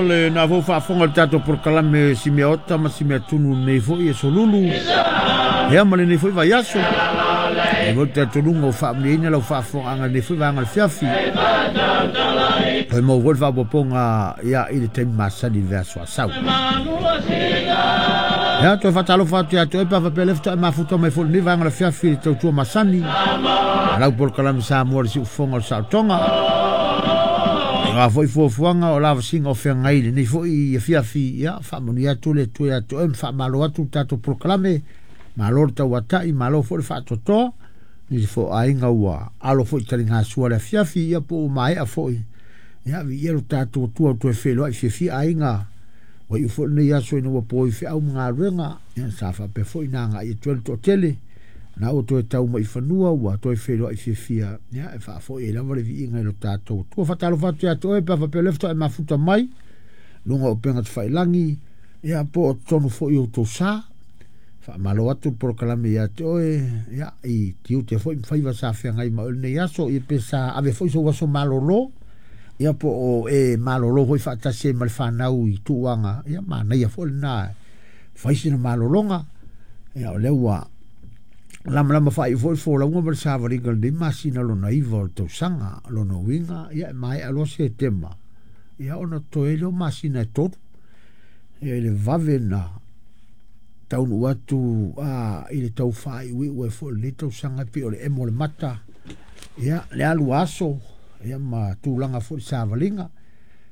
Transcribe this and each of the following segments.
le na fou faafofoga i le tatou polokalame Simeota ma Simeatunu nei foi e solulu ia ma lenei foi vaiaso. E foi talitonuga ua faamanuiaina lau faafofogaaga i lenei foi vaega o le fiafi. Toe maua foi le faaopoopoga ia i le taimi masani i le vaiaso a sau. Ia, toe faatalofa atu ia te oe pe a faapea o lea faatoa e mafuta mai foi i lenei vaega o le afiafi i le tautua masani a lau polokalame Samoa i le siufofoga o le saolotoga. O a foi fuafuaga o lavasiga o feagai i lenei foi afiafi, ia faamanuia atu le Atua ia te oe ma faamalo atu le tatou polokalame. Malo le tauatai, malo foi le faatoatoa. Nisi foi o aiga ua alo foi i taligasua i le afiafi, ia po ua maea foi. Ia, viia lo tatou Atua ua toe feiloai fiafia aiga. Ua iu foi lenei aso ina ua poi feau ma galuega, ia sa faapea foi ona agai atu ai le toatele. Na ua toe tau mai i fanua ua toe feiloai fiafia, ia e faafoi ai lava le viiga i lo tatou Atua. Faatalofa atu ia te oe pe a faapea o lea faatoa e mafuta mai luga o upega tafailagi, ia po o totonu foi o outou sa. Faamalo atu le polokalame ia te oe, ia i tiute foi ma faiva sa feagai ma oe i lenei aso, ia pe sa ave foi sou aso malolo. Ia po o e malolo foi faatasi ai ma le fanau i tuuaga, ia manaia foi lena fai sina malologa. Ia o lea ua lamalama faaiu foi le folauga ma le savaliga o lenei masina lona iva o le tausaga. Lona uiga, ia e maea loa Setema, ia ona totoe ai lea o masina e tolu. Ia i le vave na taunuu atu i le tau faaiuiu ai foi o lenei tausaga e pei o le emo o le mata, ia le alu a aso, ia ma tulaga foi i le savaliga.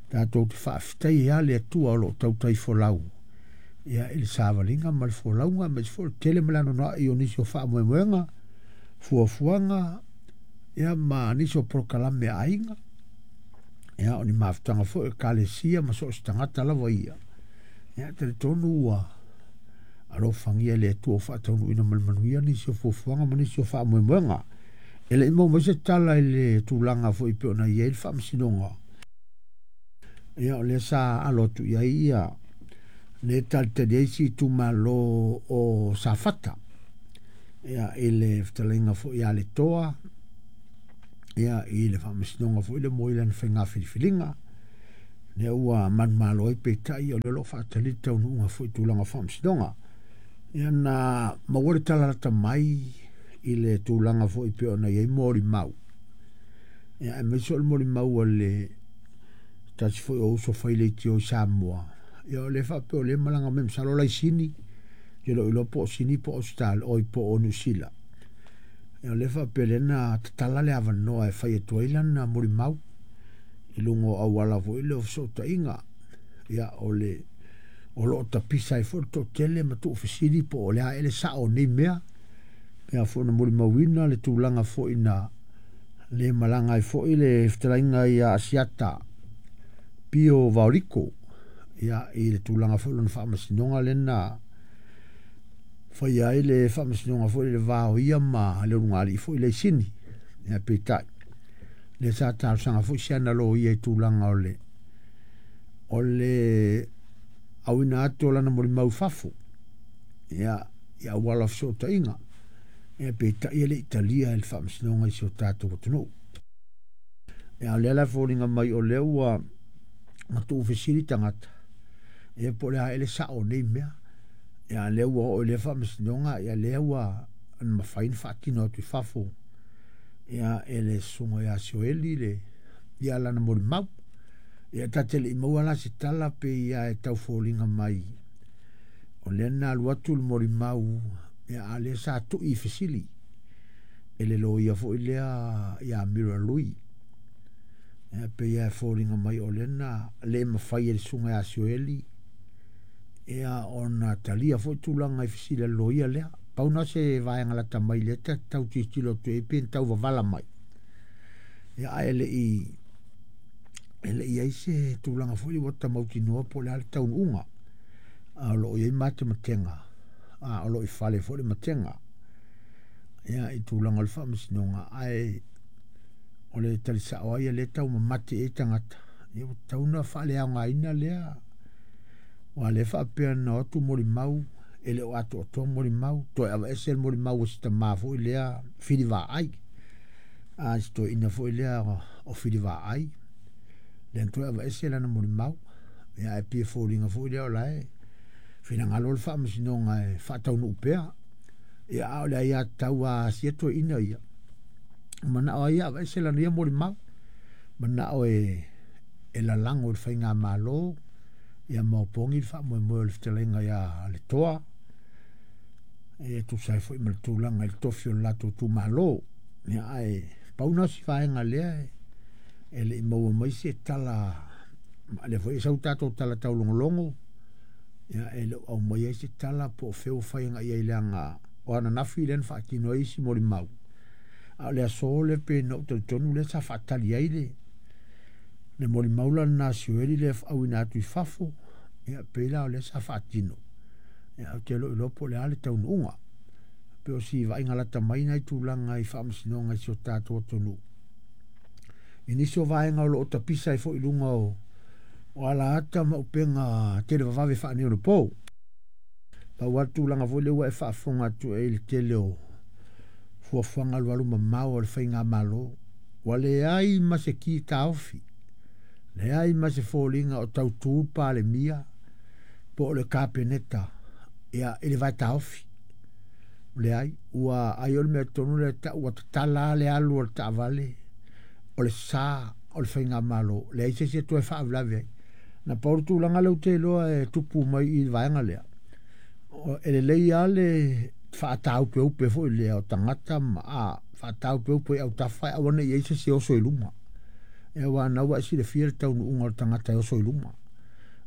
Tatou te faafetai ai lava le Atua o lo o tautai folau ia i le savaliga ma le folauga, aemaise foi o le tele ma le anoanoai o nisi o faamoemoega, fuafuaga, ia ma nisi o polokalame a aiga, ia o ni mafutaga foi a ekalesia ma so o se tagata lava ia. Ia, e talitonu ua alofagia e le Atua ua faataunuuina ma le manuia nisi o fuafuaga ma nisi o faamoemoega. E le i maua mai se tala i le tulaga foi pei ona i ai le faamasinoga. Ia, o lea sa alo atu i ai ia le talitali ai si itumalo o Safata. Ia, i le fetalaiga foi ia Letoa, ia, i le faamasinoga foi lea mo lana faiga filifiliga. Lea ua manumalo ai peitai o lea o lo o faatali le taunuuga foi i tulaga o faamasinoga. Ia na maua le tala lata mai i le tulaga foi pei ona i ai molimau. Ia aemaise o le molimau a le tasi foi o uso fai leitio i Samoa. Ia o lea faapea o lea e malaga mai masalo laisini, ke lou iloa po o Sini po o Australia, oi po o Niu Sila. Ia o lea faapea lea na tatala le avanoa e fai atu ai lana molimau i luga o auala foi lea o fesootaiga. Ia o le o lo o tapisa ai foi le toatele ma tuufesili po o le a ea le sao o nei mea. Ia foi na molimauina le tulaga foi na le malaga ai foi le fetalaiga ia Asiata Pio Vaoliko ia i le tulaga foi lona faamasinoga lea na faia ai le faamasinoga foi le va o ia ma le ulugalii foi le Sini. Ia peitai lea sa talosaga foi si ana loia i tulaga o le auina atu o lana molimau i fafo ia i auala o fesootaiga. Ia peitai e le i talia e le faamasinoga i si o tatou atunuu. Ia o lea la e foliga mai o lea ua tuufesili tagata, ia po o le a ea le sao o nei mea. Ia lea ua oo i lea faamasinoga, ia lea ua mafai ona faatino atu i fafo ia e le susuga ia Sioeli le ia lana molimau. Ia ta te le i maua la se tala pe ia e tau foliga mai o lea na alu atu le molimau, ia a lea sa tui i fesili e le loia foi lea ia Mira Lui. Ia pe ia e foliga mai o lea na le mafai e le susuga ia Sioeli ia ona talia foi tulaga i fesili a le loia lea. Pau na se vaega lata mai lea ta tau tilotilo atu ai pe na tau vavala mai. Ia ae le i ai se tulaga foi ua ta mautinoa po o le a le taunuuga. A o lo o i ai matematega, a o lo o i fale foi le matega. Ia i tulaga o le faamasinoga, ae o le tali sao ai lea tau mamate ai tagata, ia ua tatau ona faaleaogaina lea. Aua lea faapea na o atu molimau, e le o atoatoa molimau, toe aveese le molimau a si tama foi lea Fili Vaai. A si toeaina foi lea o Fili Vaai, lea na toe aveese lana molimau. Ia ae pei e foliga foi lea o la e finagalo le Faamasinoga e faataunuu pea. Ia a o le aiatatau a sia toeaina ia, manao ai ia aveese lana ia molimau, manao e lalago i le faigamalo, ia ma opogi le faamoemoe o le fetalaiga ia Letoa, e tusa ai foi ma le tulaga i le tofi o le latou itumalo. Ia ae pau na o si vaega lea e le i maua mai se tala, lea foi e sau tatou tala taulogologo, ia e le o aumaia ai se tala po o fea ua fai agai i ai, leaga o ananafi lea na faatino ai isi molimau, a o le aso lea pei na ou talitonu lea sa faatali ai le molimau la lena a Sioeli lea e auina atu i fafo, ia pei la o lea sa faatino, ia ou te le o iloa po o le a le taunuuga. Pei o si vaaiga lata mai na i tulaga i faamasinoga i si o tatou atunuu. I nisi o vaega o lo o tapisa ai foi i luga o alaata ma upega televavave faaneionapo. Pau lava le tulaga foi lea ua e faafofoga atu ai i le tele o fuafuaga alualu mamao a le faigamalo, ua leai ma se ki taofi, leai ma se foliga o tautu le Palemia po o le Kapeneta ia i le vae taofi. Leai, ua ai o le mea tonu lea tau ua tatala le alu o le taavale, o le sa o le faigamalo, leai se isi e toe faalavelave ai. Na pau le tulaga lea ou te iloa e tupu mai i le vaega lea, e lelei lava le faataupeupe foi lea o tagata ma faataupeupe i autafa e aua ne i i ai se isi e oso i luma. Ia aua o lena ua e silafia le taunuuga o le tagata e oso i luma. O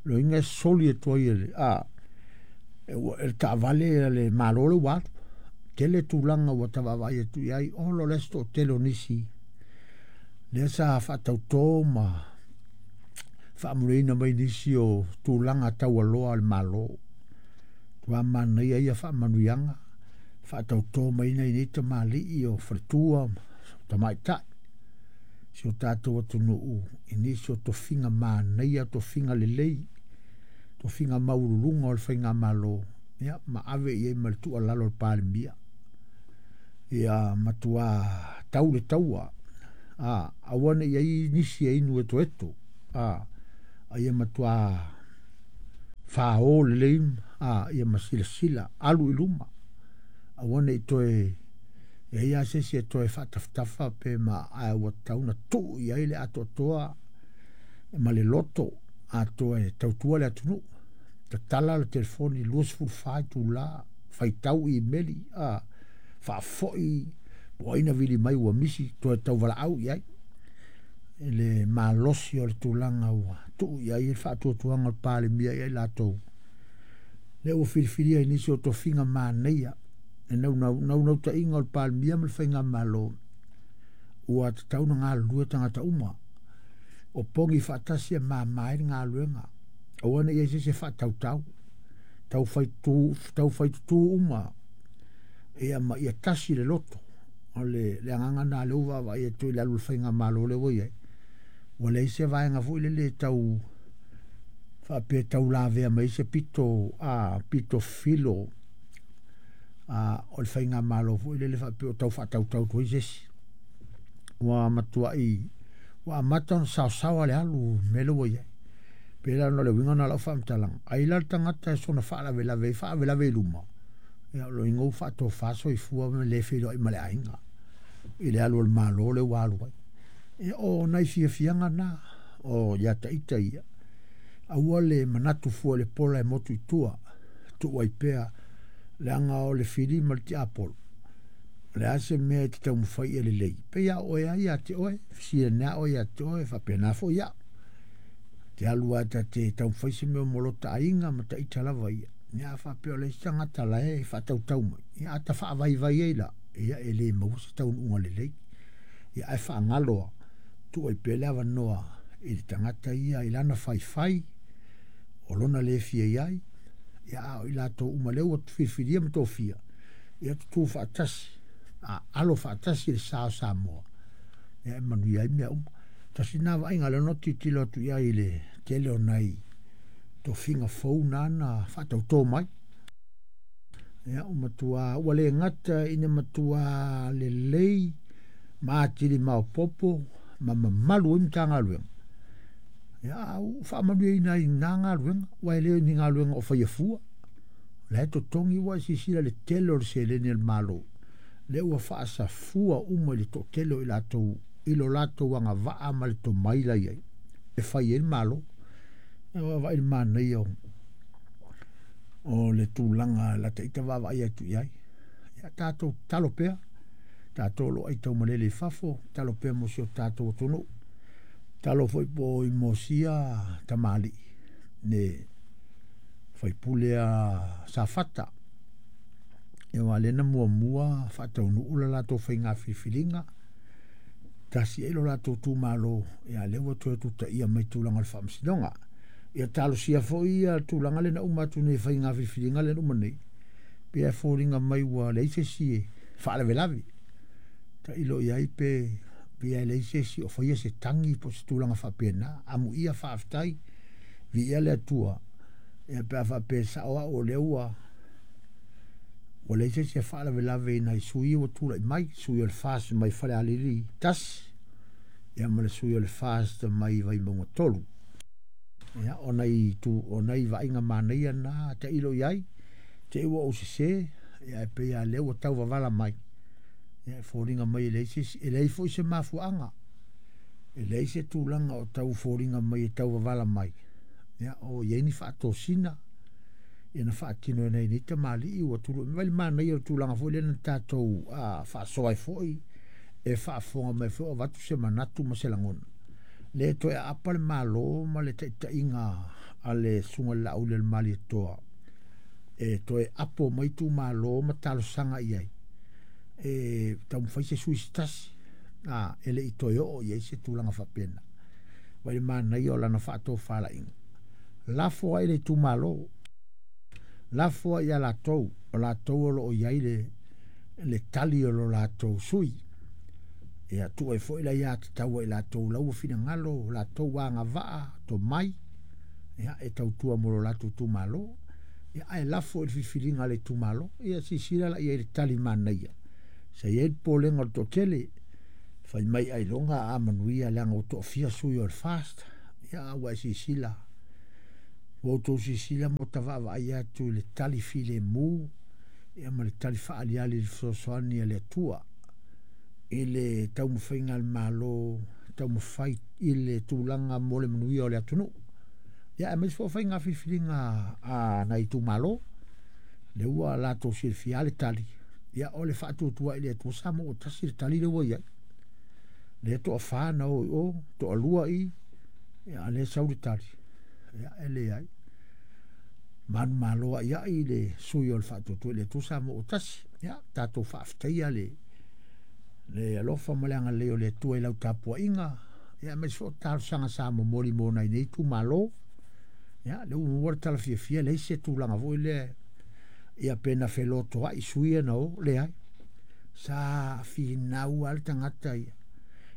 lona uiga e soli atu ai e le e le taavale a le Malo le ua alu. Tele tulaga ua ta vaavaai atu i ai, ola o le isi toatele o nisi lea sa faatauto ma faamanuiaina mai nisi o tulaga taualoa a le Malo. Matua manaia ia faamanuiaga, faatauto mai nai nei tamalii o faletua ma tamaitai si o tatou atunuu i nisi o tofiga manaia, tofiga lelei, tofiga maualuluga o le faigamalo, ia ma ave i ai ma le tuualalo a le Palemia. Ia matua tau le taua, aua ne i i ai nisi e inu etoeto, a ia matua fao lelei, ia ma silasila, alu i luma, aua ne i toe i ai lava se isi e toe faatafatafa pe ma, ae ua tatau ona tuu i ai le atoatoa ma le loto atoa e tautua le atunuu. Tatala le telefoni 24 itula, faitau imeli, faafoi po o ai na vili mai ua misi, toe tauvalaau i ai i le malosi o le tulaga ua tuu i ai le faatuatuaga o le Palemia ia i latou lea ua filifilia i nisi o tofiga manaia. E naunautaiga o le Palemia ma le faigamalo ua tatau ona galulue tagata uma, o pogi faatasi e mama ai le galuega, aua ne i i ai se isi e faatautau, taufaitutu uma, ia ma ia tasi le loto. O le agaga lena lea ua vaavaai atu i le alu o le faigamalo lea ua i ai, ua leai se vaega foi lele e tau faapea e tau lavea mai ai se pito, pito filo o le faigamalo foi lele faapea o tau faatautau atu ai se isi. Ua matuai ua amata ona saosaoa le alu mea lea ua i ai. Pei la ona o le uiga lena o lau faamatalaga, ai la le tagata e soona faalavelave ai, faalavelave i luma, ia o lona uiga ua faatofa soifua ma le feiloai ma le aiga i le alu o le Malo lea ua alu ai. Ia o nai fiafiaga na o ia ita ia, aua le manatu fua i le pola e motu i tua, tuu ai pea, leaga o le fili ma le tiapolo, o le a se mea e te taumafai ia lelei, pei lava o oe lava ia te oe, fesili ane lava oe ia te oe, faapena foi au. Te alu lava ta te taumafai se mea mo lota aiga ma taita lava ia. Ia a faapea o le isi tagata la e faatautau mai, ia a ta faavaivai ai la, ia e le maua se taunuuga lelei. Ia ae faagalo lava, tuu ai pea le avanoa i le tagata ia i lana faifai, o lona le fia i ai, ia a o i latou uma lea ua filifilia ma tofia, ia tutu faatasi, a alo faatasi le sa o Samoa, ia e manuia ai mea uma. Tasi lena vaaiga lea na ou tilotilo atu i ai i le tele o nai tofiga fou na na faatauto mai. Ia, ua matua, ua le gata ina matua lelei ma atili maopoopo ma mamalu ai Matagaluega. Ia, a ua faamanuiaina ai i na galuega, aua e le o ni galuega o faia fua. O la e totogi ua e silasila i le tele o le seleni a le Malo, lea ua faasafua uma i le toatele o i latou i lo latou agavaa ma le tomai la e i ai e fai ai le Malo. Ia vaavaai i le manaia o le tulaga la ta ita vaavaai atu i ai. Ia tatou tatalo pea, tatou o lo o aitaumalele i fafo, tatalo pea mo si o tatou atunuu. Tatalo foi po i Mosia tamalii le faipule a Safata. Ia aua lea na muamua faataunuu le latou faiga filifiliga, tasi ai lo latou itumalo, ia lea ua toe tutaia mai tulaga o le faamasinoga. Ia talosia foi ia tulaga lea na uma atu nei faiga filifiliga lea na uma nei, pei e foliga mai ua leai se isi e faalavelave. Tailo i ai pe pei e leai se isi o faia se tagi po o se tulaga faapena. Amuia faafetai, viia le Atua, ia pe a faapea e sao au o lea ua leai se isi e faalavelave i nai sui ua tulai mai, sui o le FAST mai Falealili 1, ia ma le sui o le FAST mai Vaimauga 3. Ia, o nai, tu, o nai vaaiga manaia na tailo i ai, te i ua ou sese, ia e pei lava lea ua tau vavala mai, ia e foliga mai e leai se isi, e leai foi se mafuaaga, e leai se tulaga o tau foliga mai e tau vavala mai, ia o i ai ni faatosina, ia na faatino e nai nei tamalii ua tului mai le manaia o le tulaga foi lea na tatou faasoa ai foi, e faafofoga mai foi o avatu se manatu ma se lagona. Lea toe aapa le Malo ma le taitaiga a le Susuga i le Laauli o le Malietoa e toe apo mai itumalo ma talosaga i ai e taumafai se sui se tasi a e le i toe oo i ai se tulaga faapena. Vai le manaia o lana faatofalaiga. Lafo ai le itumalo, lafo ai ia latou, o latou o lo o i ai le tali o lo latou sui. Ia tuu ai foi le aiatatau a i latou la ua finagalo, latou agavaa, tomai, ia, e tautua mo lo latou itumalo. Ia, ae lafo i le filifiliga a le itumalo. Ia, silasila la i ai i le tali manaia. Sa i ai le popolega o le toatele, fai mai ailoga a manuia leaga ua toafia sui o le FAST. Ia, a ua e silasila, ua outou silasila ma ota vaavaai atu i le tali filemu, ia ma le tali faaaliali i le fesoasoani a le Atua i le taumafaiga a le Malo taumafai i le tulaga mo le manuia o le atunuu. Ia, aemaise foi o faiga filifiliga a nai itumalo, lea ua latou silafia le tali, ia o le faatuatua i le Atua sa maua tasi le tali lea ua i ai. Lea toafa na o i o, toalua i, ia a lea sau le tali, ia e leai. Manumalo ai ai le sui o le faatuatua i le Atua sa maua tasi. Ia, tatou faafetaia le alofa ma le agalelei o le Atua i lau tapuaiga, ia aemaise foi o talosaga sa momoli mo nai nei itumalo. Ia, lea ua maua le tala fiafia, leai se tulaga foi lea, ia pe na felotoai sui ia na o, leai. Sa finau lava le tagata ia,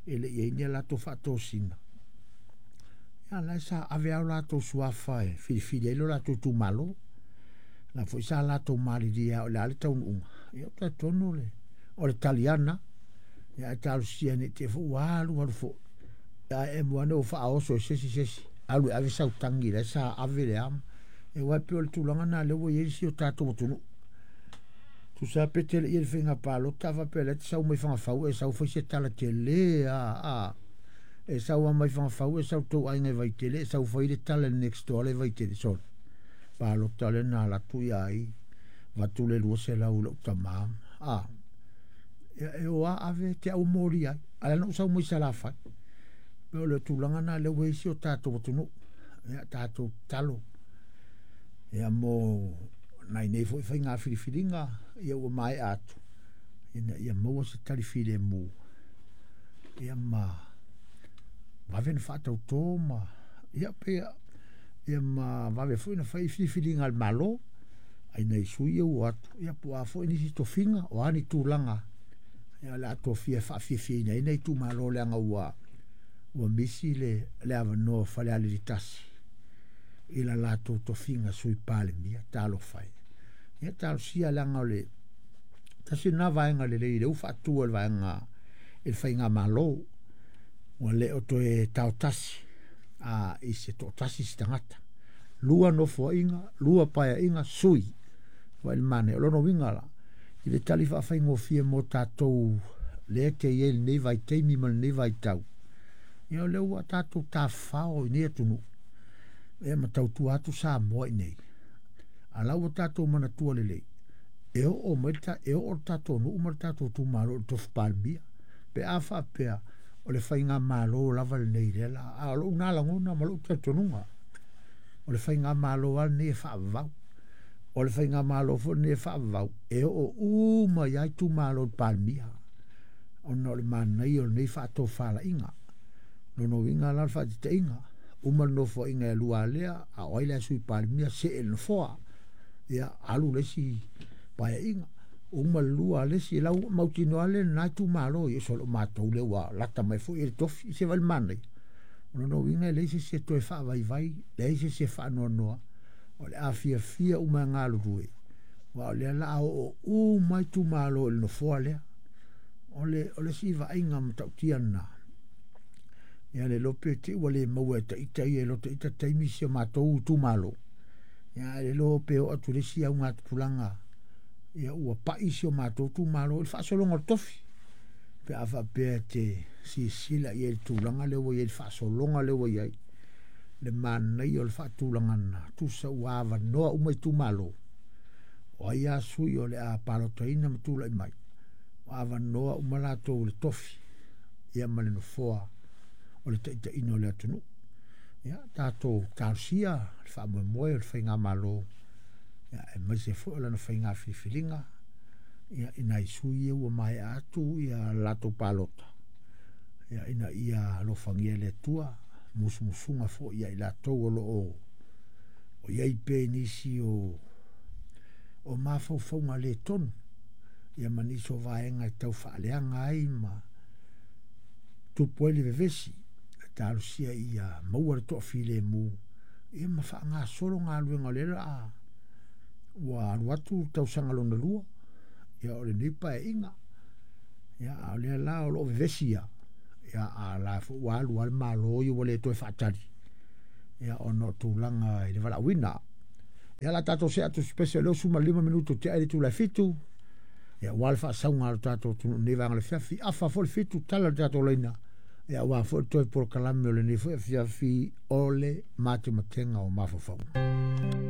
e le i i ai ni a latou faatosina. Ia, la e sa ave lava o latou suafa e filifili ai lo latou itumalo. La foi sa latou malilie o le a le taunuuga. Ia, ou te talitonu o le tali ana. Ia, ae talosia ne i te i foi ua alu alu foi. Ae emo ane ua faaoso e se isi alu e ave sau tagi la sa ave le ama. E aua e pei o le tulaga na lea ua i ai si o tatou atunuu. Tusa pe tele ia le faiga palota a faapea lea te sau mai Fagafau e sau fai se tala tele a e sau lava mai Fagafau e sau tou aiga i Vaitele e sau fai le tala i le next door le Vaitele sole. Palota lea na alu atu ia ai avatu le 200 i lou tama. A ia e o a ave te au moli ai. A lea na ou sau mai Salafai. O le tulaga na lea ua i ai si o tatou atunuu. Ia tatou tatalo. Ia mo nai nei foi faiga filifiliga ia ua maea atu ina ia maua se tali filemu ia ma vave na faatautō ma ia pe ia ma vave foi na fai filifiliga a le Malo ai nai sui ia ua atu ia po o a foi nisi tofiga o a ni tulaga ia o le a tofia e faafiafiaina ai nai itumalo leaga ua misi le avanoa o Falealili 1 i la latou tofiga sui Palemia. Talofa e. Ia talosia leaga o le tasi lena vaega lelei lea ua faatu e le vaega i le faigamalo ua le o toe taotasi. i se toatasi se tagata. 2 nofoaiga, 2 paeaiga, sui. Vaai le manaia. O lona uiga la, i le tali faafaigofie mo tatou lea te i ai lenei vaitaimi ma lenei vaitau, ia o lea ua tatou tafafao i nei atunuu, ia ma tautua atu Samoa i nei. A la ua tatou manatua lelei, e oo mai e oo le tatou nuu ma le tatou itumalo i le tofi Palemia, pe a faapea o le faigamalo lava lenei lea la. A o lou na lagona ma lou talitonuga, o le faigamalo lava lenei e faavavau. O le faigamalo foi lenei e faavavau, e oo uma i ai itumalo i le Palemia, ona o le manaia o lenei faatofalaiga. Lona uiga la o le faataitaiga, uma le nofoaiga e 2 lea, a o ai la e sui Palemia, see i le nofoa, ia alu le isi paeaiga, uma le 2 a le isi, lau mautinoa le na itumalo, ia so o matou lea ua lata mai foi e le tofi, se vai le manaia. O lona uiga e leai se isi e toe faavaivai, leai se isi e faanoanoa, o le afiafia uma e galulue, aua o lea la a oo uma itumalo i le nofoa lea. O le isi vaaiga matautia lena. Ia le iloa pe te i ua le maua e ita ia i lo ita taimi si o matou itumalo. Ia le iloa pe oo atu le isi augatupulaga, ia ua pai si o matou itumalo i le faasologa o le tofi. Pe a faapea te silasila i ai i le tulaga lea ua i ai, le faasologa lea ua i ai, le manaia o le faatulagaga, tusa ua avanoa uma itumalo. O ai lava sui o le a palotaina ma tulai mai, ua avanoa uma latou i le tofi, ia ma le nofoa o le taitaiina o le atunuu. Ia tatou talosia le faamoemoe o le faigamalo, ia aemaise foi o lana faiga filifiliga, ia i nai sui ia ua maea atu ia latou palota, ia ina ia alofagia e le Atua musumusuga foi ia i latou o lo o i ai pea i nisi o mafaufauga le tonu, ia ma nisi o vaega e tau faaleaga ai ma tupu ai le vevesi, e talosia ia maua le toafilemu, ia ma faagasolo galuega o lea la ua alu atu le tausaga lona 2, ia o lenei paeaiga, ia a o lea la o lo o vevesi ia, ia a la foi ua alu lava le Malo ia ua le toe faatali, ia ona o tulaga i le valaauina. Ia la tatou see atu special leo 15 minuto te ai le itula e 7, ia ua le faasauga a le tatou atunuu nei vaega o le afiafi, afa foi le 7 tala le tatou laina, ia ua foi le toe polokalame o lenei foi afiafi o le matematega o mafaufauga.